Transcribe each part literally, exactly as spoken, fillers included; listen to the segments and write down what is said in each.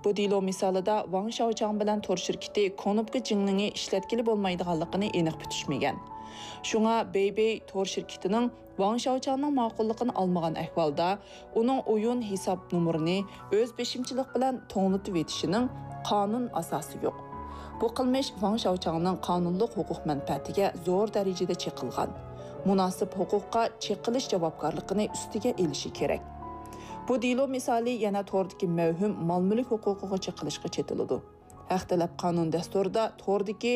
بۇ دېلو مىسالىدا ۋاڭ شياۋچاڭ بىلەن تور شىركىتى كۇنۇپكا جىڭلىڭى ئىشلەتكىلى بولمايدىغانلىقىنى ئېنىق پۈتۈشمىگەن. شۇڭا بېيبېي تور شىركىتىنىڭ ۋاڭ شياۋچاڭنىڭ ماقۇللۇقىنى ئالمىغان ئەھۋالدا، ئۇنىڭ ئويۇن ھېساب نومۇرىنى ئۆز بېشىمچىلىق بىلەن توڭلىتىۋېتىشىنىڭ قانۇن ئاساسى يوق. بۇ قىلمىش ۋاڭ شياۋچاڭنىڭ قانۇنلۇق ھوقۇق مەنپەئەتىگە زور دەرىجىدە چېقىلغان، مۇناسىپ ھوقۇققا چېقىلىش جاۋابكارلىقىنى ئۈستىگە ئېلىشى كېرەك. بۇ دېلو مىسالى يەنە توردىكى مەۋھۇم مال-مۈلۈك ھوقۇقىغا چېقىلىشقا چېتىلىدۇ. ھەق تەلەپ قانۇن دەستۇرىدا توردىكى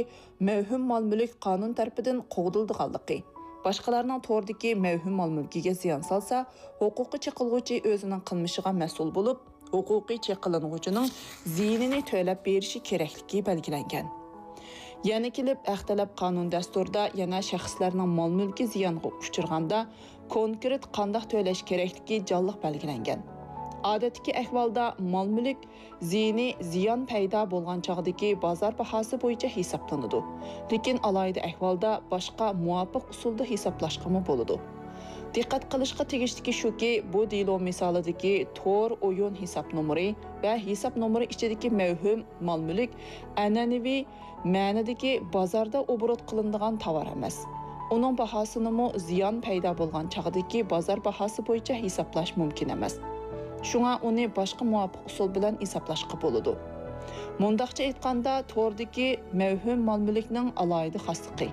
مەۋھۇم مال-مۈلۈك قانۇن تەرىپىدىن قوغدىلىدىغانلىقى، باشقىلارنىڭ توردىكى مەۋھۇم مال-مۈلكىگە زىيان سالسا، ھوقۇققا چېقىلغۇچى ئۆزىنىڭ قىلمىشىغا مەسئۇل بولۇپ، ھوقۇقىي چېقىلىنغۇچىنىڭ زىيىنىنى تۆلەپ بېرىشى كېرەكلىكى بەلگىلەنگەن. يەنە كېلىپ، ھەق تەلەپ قانۇن دەستۇرىدا يەنە شەخسلەرنىڭ مال-مۈلكى زىيانغا ئۇچرىغاندا، كونكرېت قانداق تۆلەش كېرەكلىكى جانلىق بەلگىلەنگەن. ئادەتتىكى ئەھۋالدا مال-مۈلۈك زىيىنى زىيان پەيدا بولغان چاغدىكى بازار باھاسى بويىچە ھېسابلىنىدۇ، لېكىن ئالاھىدە ئەھۋالدا باشقا مۇۋاپىق ئۇسۇلدا ھېسابلاشقىمۇ بولىدۇ. دىققەت قىلىشقا تېگىشلىكى شۇكى، بۇ دېلو مىسالىدىكى تور ئويۇن ھېساب نومۇرى ۋە ھېساب نومۇرى ئىچىدىكى مەۋھۇم مال-مۈلۈك ئەنئەنىۋى مەنىدىكى بازاردا ئوبوروت قىلىنىدىغان تاۋار ئەمەس. ئۇنىڭ باھاسىنىمۇ زىيان پەيدا بولغان چاغدىكى بازار باھاسى بويىچە ھېسابلاش مۇمكىن ئەمەس. شۇڭا ئۇنى باشقا مۇۋاپىق ئۇسۇل بىلەن ھېسابلاشقا بولىدۇ. مۇنداقچە ئېيتقاندا، توردىكى مەۋھۇم مال-مۈلۈكنىڭ ئالاھىدە خاسلىقى،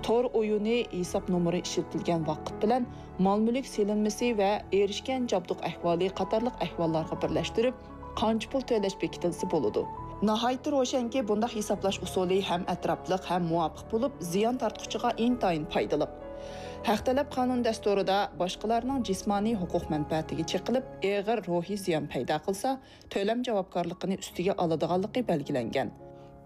تور ئويۇنى ھېساب نومۇرى ئىشلىتىلگەن ۋاقىت بىلەن مال-مۈلۈك سېلىنمىسى ۋە ئېرىشكەن جابدۇق ئەھۋالى قاتارلىق ئەھۋاللارغا بىرلەشتۈرۈپ، قانچە پۇل تۆلەش بېكىتىلسە بولىدۇ. ناھايىتى روشەنكى، بۇنداق ھېسابلاش ئۇسۇلى ھەم ئەتراپلىق، ھەم مۇۋاپىق بولۇپ، زىيان تارتقۇچىغا ئىنتايىن پايدىلىق. ھەق تەلەپ قانۇن دەستۇرىدا باشقىلارنىڭ جىسمانىي ھوقۇق مەنپەئەتىگە چېقىلىپ، ئېغىر روھىي زىيان پەيدا قىلسا، تۆلەم جاۋابكارلىقىنى ئۈستىگە ئالىدىغانلىقى بەلگىلەنگەن.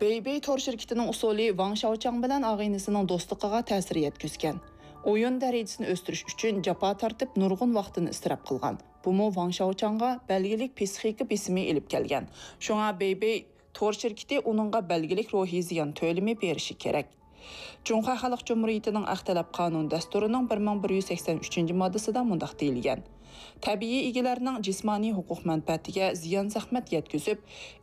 بېيبېي تور شىركىتىنىڭ ئۇسۇلى ۋاڭ شياۋچاڭ بىلەن ئاغىنىسىنىڭ دوستلۇقىغا تەسىر يەتكۈزگەن. ئويۇن دەرىجىسىنى ئۆستۈرۈش ئۈچۈن جاپا تارتىپ، نۇرغۇن ۋاقتىنى ئىسراپ قىلغان. بۇمۇ ۋاڭ شياۋچاڭغا بەلگىلىك پسىخىكا بېسىمى ئېلىپ كەلگەن. شۇڭا بېيبېي تور شىركىتى ئۇنىڭغا بەلگىلىك روھىي زىيان تۆلىمى بېرىشى كېرەك. جۇڭخۇا خەلق جۇمھۇرىيىتىنىڭ ھەق تەلەپ قانۇن دەستۇرىنىڭ بىر مىڭ بىر يۈز سەكسەن ئۈچىنچى ماددىسىدا مۇنداق دېيىلگەن: تەبىئىي ئىگىلەرنىڭ جىسمانىي ھوقۇق مەنپەئەتىگە زىيان-زەخمەت يەتكۈزۈپ،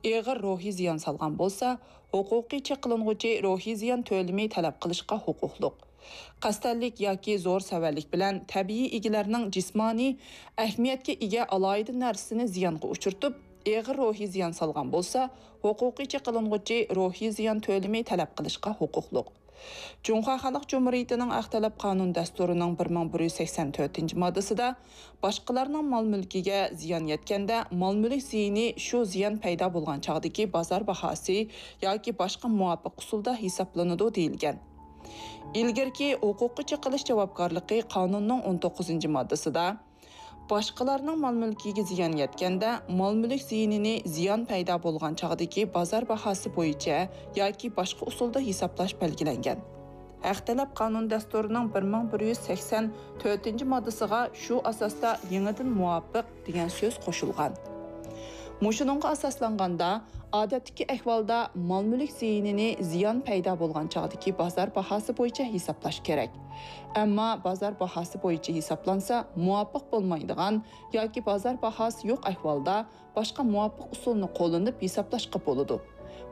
ئېغىر روھىي زىيان سالغان بولسا، ھوقۇقىي چېقىلىنغۇچى روھىي زىيان تۆلىمى تەلەپ قىلىشقا ھوقۇقلۇق. قەستەنلىك ياكى زور سەۋەنلىك بىلەن تەبىئىي ئىگىلەرنىڭ جىسمانىي ئەھمىيەتكە ئىگە ئالاھىدە نەرسىسىنى زىيانغا ئۇچرىتىپ، ئېغىر روھىي زىيان سالغان بولسا، ھوقۇقىي چېقىلىنغۇچى روھىي زىيان تۆلىمى تەلەپ قىلىشقا ھوقۇقلۇق. جۇڭخۇا خەلق جۇمھۇرىيىتىنىڭ ھەق تەلەپ قانۇن دەستۇرىنىڭ بىر مىڭ بىر يۈز سەكسەن تۆتىنچى ماددىسىدا، باشقىلارنىڭ مال-مۈلكىگە زىيان يەتكەندە، مال-مۈلۈك زىيىنى شۇ زىيان پەيدا بولغان چاغدىكى بازار باھاسى ياكى باشقا مۇۋاپىق ئۇسۇلدا ھېسابلىنىدۇ، دېيىلگەن. ئىلگىرىكى ھوقۇققا چېقىلىش جاۋابكارلىقى قانۇننىڭ ئون توققۇزىنچى ماددىسىدا، باشقىلارنىڭ مال-مۈلكىگە زىيان يەتكەندە، مال-مۈلۈك زىيىنىنى زىيان پەيدا بولغان چاغدىكى بازار باھاسى بويىچە ياكى باشقا ئۇسۇلدا ھېسابلاش بەلگىلەنگەن. ھەق تەلەپ قانۇن دەستۇرىنىڭ بىر مىڭ بىر يۈز سەكسەن تۆتىنچى ماددىسىغا شۇ ئاساستا يېڭىدىن مۇۋاپىق دېگەن سۆز قوشۇلغان. مۇشۇنىڭغا ئاساسلانغاندا، ئادەتتىكى ئەھۋالدا مال-مۈلۈك زىيىنىنى زىيان پەيدا بولغان چاغدىكى بازار باھاسى بويىچە ھېسابلاش كېرەك. ئەمما بازار باھاسى بويىچە ھېسابلانسا، مۇۋاپىق بولمايدىغان ياكى بازار باھاسى يوق ئەھۋالدا باشقا مۇۋاپىق ئۇسۇلنى قوللىنىپ ھېسابلاشقا بولىدۇ.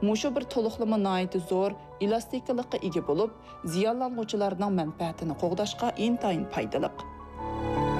مۇشۇ بىر تولۇقلىما ناھايىتى زور ئېلاستىكىلىققا ئىگە بولۇپ، زىيانلانغۇچىلارنىڭ مەنپەئەتىنى قوغداشقا ئىنتايىن پايدىلىق.